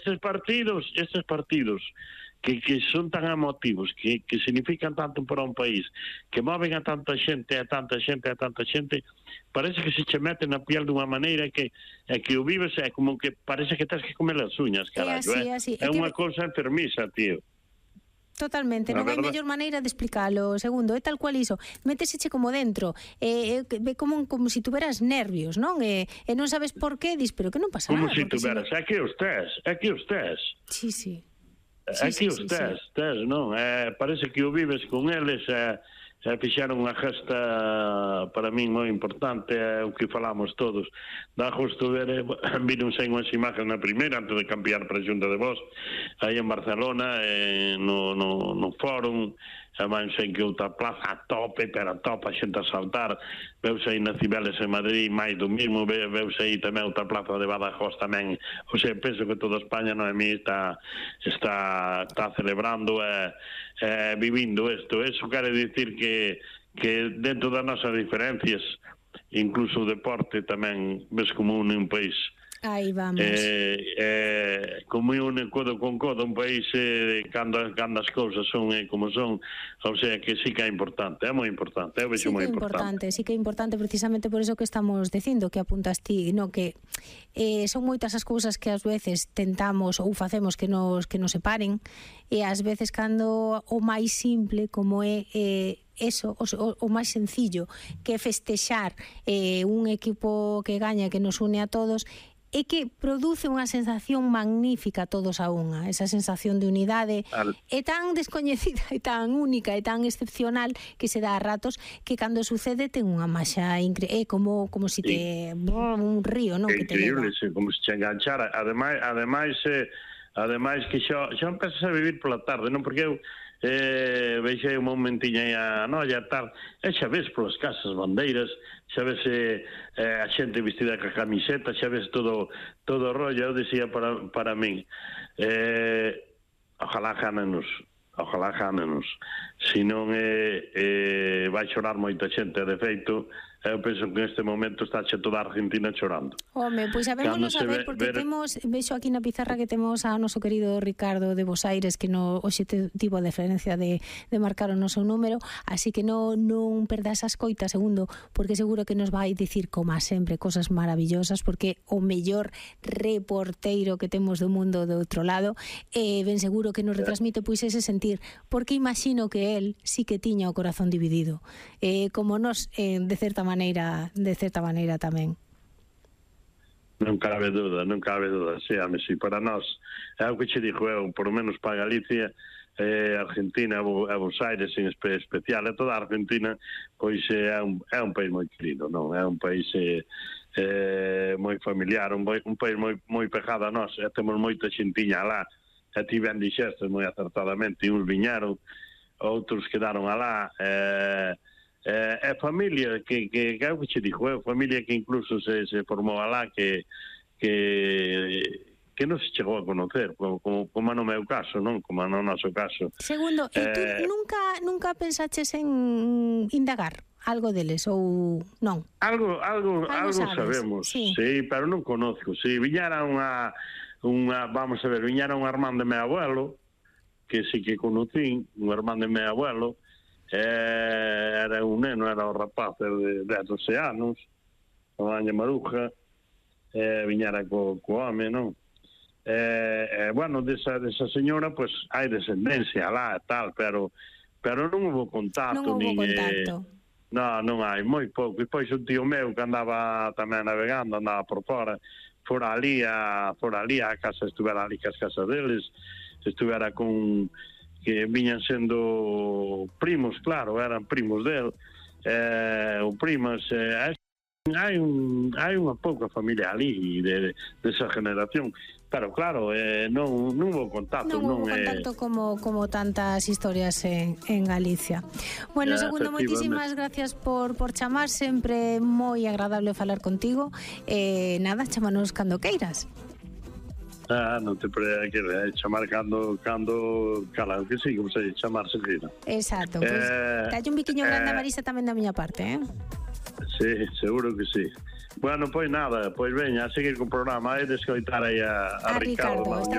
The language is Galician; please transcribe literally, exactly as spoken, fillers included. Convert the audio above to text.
estes partidos, estes partidos que, que son tan emotivos, que, que significan tanto para un país, que moven a tanta xente, a tanta xente, a tanta xente, parece que se che meten na piel dunha maneira que é que o vives é como que parece que tens que comer as uñas, carallo, é? Así, é, así. é, é unha que... cousa enfermiza, tío. Totalmente, non hai mellor maneira de explicalo. Segundo, é tal cual iso, méteseche como dentro, é, é como, como si tuveras nervios, non? E, e non sabes por qué, dis, pero que non pasa como nada. Como si tuveras, é que os tes, é que os tes. Sí, sí. É que os tes, tes, non? É, parece que o vives con eles, é, é, fixeron unha gesta para min moi importante, é o que falamos todos. Dá justo ver, viron sen unhas imagens na primeira, antes de cambiar para a Xunta de Voz, aí en Barcelona, eh, no, no, no fórum, van sen que outra plaza a tope, pero a tope, a xente a saltar, veuse aí na Cibeles en Madrid, máis do mismo, veuse aí tamén outra plaza de Badajoz tamén, o sea, penso que toda España, non é mi, está, está, está celebrando e eh, eh, vivindo isto. Eso quere dicir que, que dentro das nosas diferencias, incluso o deporte tamén ves como une un país. Aí vamos. Eh, eh, como une codo con codo un país eh, cando, cando as cousas son eh, como son, ou sea que sí que é importante, é moi importante, é sí moi importante. importante. Sí que é importante precisamente por eso que estamos dicindo, que apuntas ti, no, que eh, son moitas as cousas que ás veces tentamos ou facemos que nos, que nos separen, e ás veces cando o máis simple como é eh, eso, o, o máis sencillo, que é festexar eh, un equipo que gaña, que nos une a todos, é que produce unha sensación magnífica todos a unha, esa sensación de unidade é tan descoñecida e tan única e tan excepcional que se dá a ratos que cando sucede ten unha maxa increíble, é como como si te brrr, un río, non, que te leva. Increíble, sí, como se te enganchara. Ademais, ademais eh, ademais que xa xa empezas a vivir pola tarde, non, porque eu eh, veixei un momentiño aí a noia tal, e xa ves polas casas bandeiras, xa ves eh, eh, a xente vestida ca camiseta, xa ves todo todo o rollo. Eu dicía para, para min eh, ojalá ganenos, ojalá ganenos, se non eh, eh, vai chorar moita xente. De feito, eu penso que neste momento está xe toda a Argentina chorando. Home, pois sabémoslo saber, porque ver... temos, vexo aquí na pizarra que temos a noso querido Ricardo de Bos Aires, que no, hoxe tivo a deferencia de, de marcar o noso número, así que non, non perda esa escoita, segundo, porque seguro que nos vai dicir, como sempre, cosas maravillosas, porque o mellor reporteiro que temos do mundo do outro lado, e eh, ben seguro que nos retransmite pois ese sentir, porque imagino que el sí que tiña o corazón dividido, eh, como nos, eh, de certa maneira, maneira, de certa maneira tamén. Non cabe duda, non cabe duda, sí, a mí, sí, para nós, é o que che dixo eu, por lo menos para Galicia, eh, Argentina, e Bos Aires en espe especial, e toda a Argentina, pois é un, é un país moi querido, non? É un país eh, eh, moi familiar, un, un país moi, moi pegado a nós, e temos moita xentiña lá, e ti ben dixestes moi acertadamente, uns viñaron, outros quedaron alá, eh, É eh, familia que, que, que é o que che dixo, é familia que incluso se, se formou alá, que, que, que non se chegou a conocer, como, como, como no meu caso, non? Como no noso caso. Segundo, eh, tú nunca, nunca pensaches en indagar algo deles ou non? Algo, algo, algo, algo sabemos, sí. sí, pero non conozco. Si sí, viñara unha, unha, vamos a ver, viñara un irmán de meu abuelo, que sí que conocín, un irmán de meu abuelo, Eh, era un neno, era o rapaz de doce anos, a Maña Maruja, eh, viñara co, co home, non? Eh, eh, bueno, desa, desa señora, pues, hai descendencia lá e tal, pero pero non houve contacto. Non houve contacto. Eh, non, non hai, moi pouco. E pois un tío meu que andaba tamén navegando, andaba por fora, fora ali a, fora ali a casa, estuvera ali que as casas deles, estuvera con... que viñan sendo primos, claro, eran primos del, eh, ou primas, eh, hai un, hai unha pouca familia ali de, de esa generación, pero claro, eh, non, non hubo contacto. Non hubo non, contacto eh... como, como tantas historias en, en Galicia. Bueno, ya, segundo, moitísimas gracias por, por chamar, sempre moi agradable falar contigo, eh, nada, chámanos cando queiras. Ah, non te pre que chamar cando cando cala, que sí, como se chamar seguida. Exacto, pois pues, eh, dalle un biquiño grande a Marisa tamén da miña parte, eh? Sí, seguro que sí. Bueno, pois nada, pois veña, a seguir co programa, e de escoitar aí a, a, a Ricardo. Ricardo,